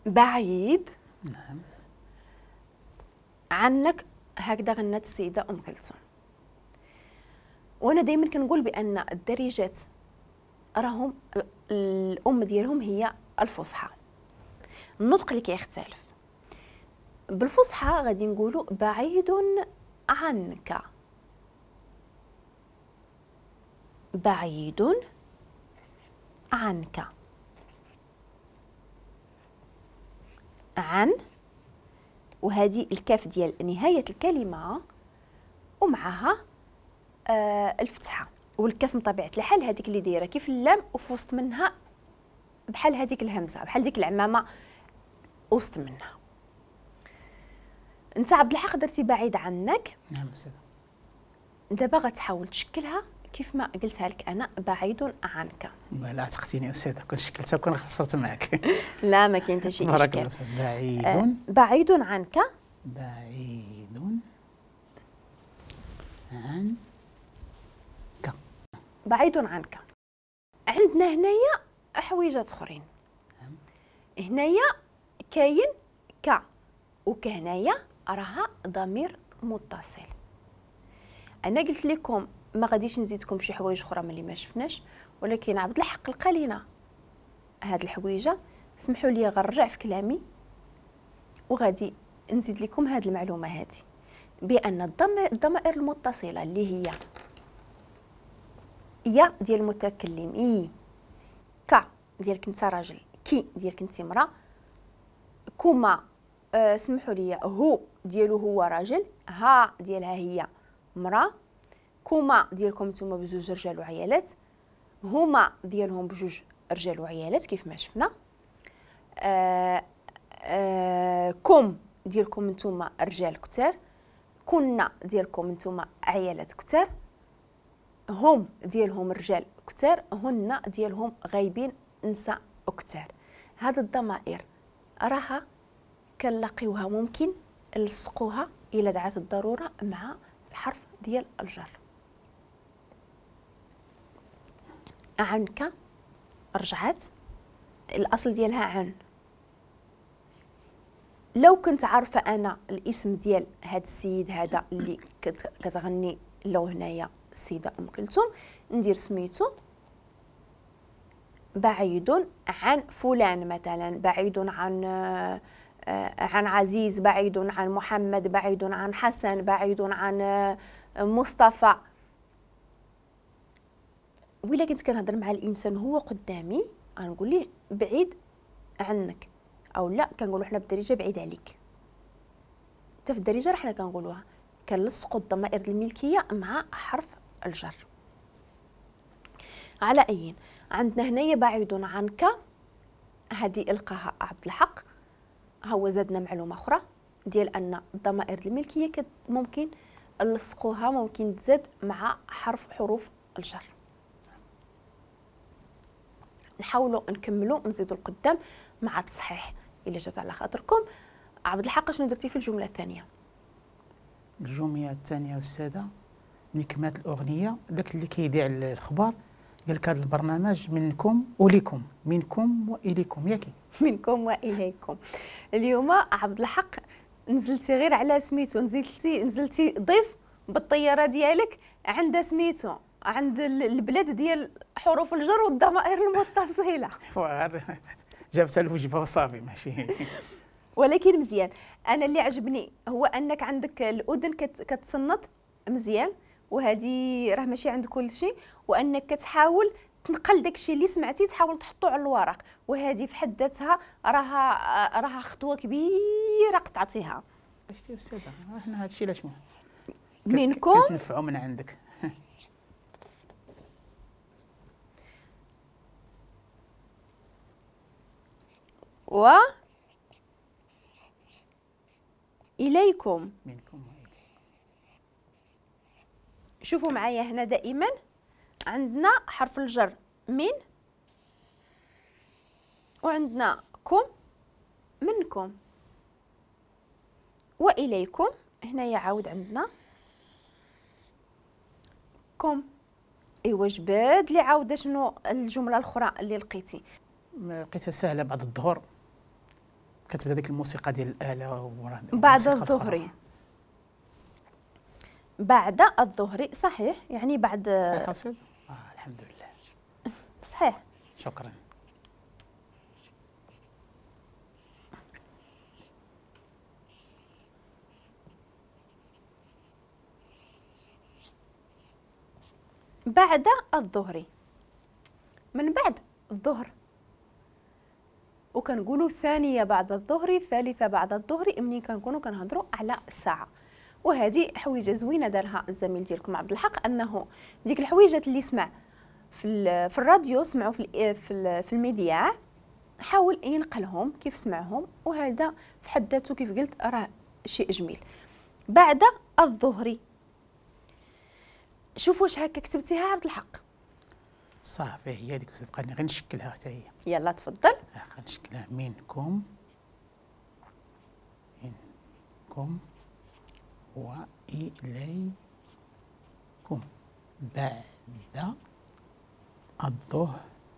بعيد. نعم. عنك، هكذا غنت السيدة أم كلثوم. وأنا دايما كنقول بأن الدارجات راهم الأم ديالهم هي الفصحى، النطق اللي كيختلف. بالفصحى غادي نقولوا بعيد عنك، بعيد عنك، عن، وهذه الكاف ديال نهاية الكلمة ومعها الفتحة، والكاف من طبيعة الحال هذيك اللي دايرة كيف اللام وفي وسط منها بحال هذيك الهمزة، بحال ديك العمامة وسط منها. انت عبد الحق درتي بعيد عنك. نعم أستاذة. دابا غتحاول تشكلها كيف ما قلتها لك انا، بعيد عنك. لا عتقتيني استاذه، كون شكلتها كون خسرت معك. لا ما كاين حتى شي اشكال. بارك الله فيك. بعيد، بعيد عنك، بعيد عنك، بعيد عنك. عندنا هنايا حويجات اخرين. هنايا كاين ك، وكهنايا راها ضمير متصل. انا قلت لكم ما غاديش نزيدكم شي حوايج اخرى من اللي ما شفناش، ولكن عبد الحق لقى لينا هاد الحويجه. سمحوا لي غنرجع في كلامي وغادي نزيد لكم هاد المعلومة هادي، بان الضمائر المتصلة اللي هي يا ديال المتكلم، اي، ك ديالك انت راجل، كي ديالك انت امراة، كما سمحوا لي هو ديالو هو راجل، ها ديالها هي امراة، كما ديالكم نتوما بجوج رجال وعيالات، هما ديالهم بجوج رجال وعيالات كيف ما شفنا، كم ديالكم نتوما رجال كتار، كنا ديالكم نتوما عيالات كتار، هم ديالهم رجال كتار، هن ديالهم غايبين نساء كتار. هاد الضمائر راها كنلاقيوها ممكن نلصقوها الى دعت الضرورة مع الحرف ديال الجر. عنك رجعت الاصل ديالها عن. لو كنت عارفه انا الاسم ديال هاد السيد هذا اللي كتغني لو هنايا السيدة ام كلثوم، ندير سميتو بعيد عن فلان مثلا، بعيد عن عن عزيز، بعيد عن محمد، بعيد عن حسن، بعيد عن مصطفى. وإلا كنت كنهضر مع الانسان هو قدامي غنقول ليه بعيد عنك، او لا كنقولوا حنا بالدارجة بعيد عليك. حتى في الدارجة راه حنا كنقولوها، كنلصقوا الضمائر الملكية مع حرف الجر. على اي عندنا هنايا بعيد عنك، هذه القاها عبد الحق، ها هو زادنا معلومة اخرى ديال ان الضمائر الملكية ممكن نلصقوها، ممكن تزاد مع حروف الجر. نحاولوا نكملوا نزيدوا القدام مع التصحيح الا جات على خاطركم. عبد الحق شنو درتي في الجملة الثانية؟ الجملة الثانية استاذه ملي كملت الاغنية داك اللي كيذيع الخبر قال لك هذا البرنامج منكم وليكم، منكم واليكم، ياكي منكم واليكم. اليوم عبد الحق نزلتي غير على سميتو، نزلتي ضيف بالطيارة ديالك عند سميتو، عند البلاد ديال حروف الجر والضمائر المتصلة. جابتها الوجبة وصافي ماشي. ولكن مزيان، انا اللي عجبني هو انك عندك الاذن كتصنت مزيان، وهذه راه ماشي عند كل شيء، وانك كتحاول تنقل داكشي اللي سمعتي تحاول تحطو على الورق، وهذه في حد ذاتها راها خطوة كبيرة قطعتيها. شتي استاذه حنا هادشي علاش منكم كتنفعوا من عندك. و إليكم، منكم وإليكم. شوفوا معايا هنا دائما عندنا حرف الجر من، وعندنا كم، منكم، وإليكم. هنايا عاود عندنا كم. ايوا جبد لي عاود شنو الجملة الاخرى اللي لقيتي؟ لقيتها سهلة بعد الظهر. كتبدا ديك الموسيقى ديال الاله. بعد الظهر، بعد الظهر صحيح، يعني بعد. صحيح أستاذ؟ الحمد لله صحيح. شكرا. بعد الظهر، من بعد الظهر، وكنقولوا الثانية بعد الظهر، الثالثة بعد الظهر، منين كنكونوا كنهضروا على الساعة. وهذه حويجة زوينة دارها الزميل ديالكم عبد الحق، أنه ديك الحويجات اللي سمع في الراديو، سمعوا في الميديا، حاول ينقلهم كيف سمعهم، وهذا في حد ذاته كيف قلت راه شيء جميل. بعد الظهر، شوفوا واش هكا كتبتيها عبد الحق؟ صافي هي ديك، بقى غير نشكلها حتى هي. يلا تفضل. غنشكلها منكم، منكم وإليكم بعد الظهر.